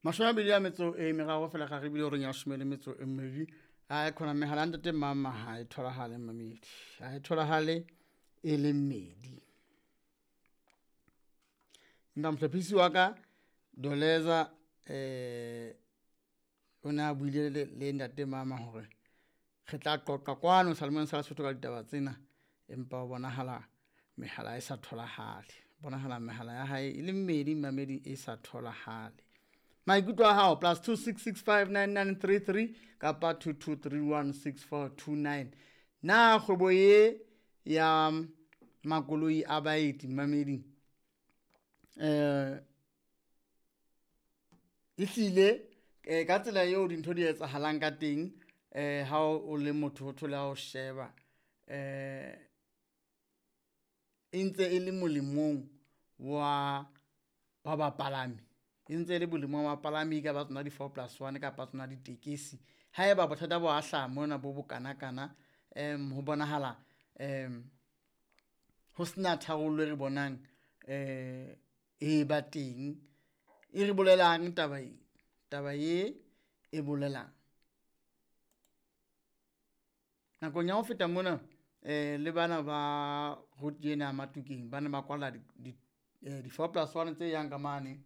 23 fela ga re bile horeng ya 12. A khona mehala ya ntate mama ha e tholahale mamedi, ha e tholahale e le mmedi. Empa mohlophisi wa ka Doleza o ne a buile le ntate mama hore re tla qoqa kwano Seyalemoyeng sa Lesotho ka ditaba tsena, empa ho bonahala mehala e sa tholahale, bonahala mehala ya hae e le mmedi mamedi e sa tholahale. Maikutlo a hao +26659933 kapa 22316429. Na kgwebo ye ya makoloi a baeti mameding ehlile ka tsela eo dintho di etsahalang ka teng, ha o le motho o thole ha o sheba e ntse e le molemong wa bapalami, e ntse e le bolemong wa bapalami ka ba tsona di-4+1 kapa tsona ditekesi. Haeba bothata bo a hlaha mona bo bokanakana, ho bonahala ho sena tharollo e re bonang e ba teng, e re bolelang taba e, taba ye e bolelang. Nakong ya ho feta mona le bana ba route ena ya Matukeng ba ne ba kwala di-4+1 tse yang ka mane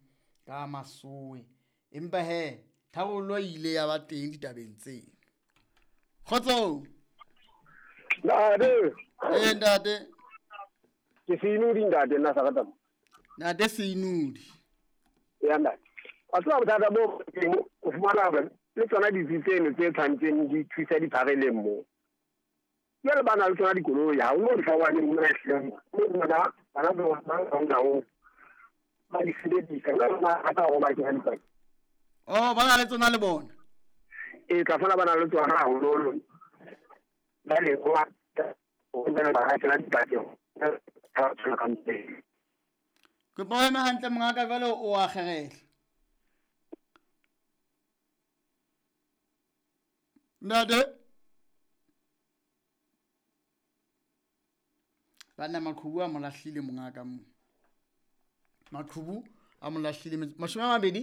ka Masowe, empa hee tharollo e ile ya ba teng ditabeng tseo. Kgotsong. Ntate. Ee ntate. Ke Seinodi ntate, nna sa ratang. Ntate Seinodi. Ya ntate. Wa tseba bothata bo teng, o fumana hore le tsona ditsi tseno tse tshwantseng di thusa diphareleng moo. Jwale ba na le tsona dikoloi, ha ho no difawane mona ehlileng. Mme bona bana ba bona ba na ho ba di sebedisa, jwale ba rata hore ba kena dipakeng. Oh, ba na le tsona le bona? Ee, tla fela ba na le tsona haholoholo. Jwale ho ba ho ba ba kena dipakeng, ba tshwana ka mpeng. Kopa o eme hantle mongaka, jwale o a kgerehla. Ntate. Banna maqhubu a mo lahlile mongaka mo. Maqhubu a mo lahlile 20.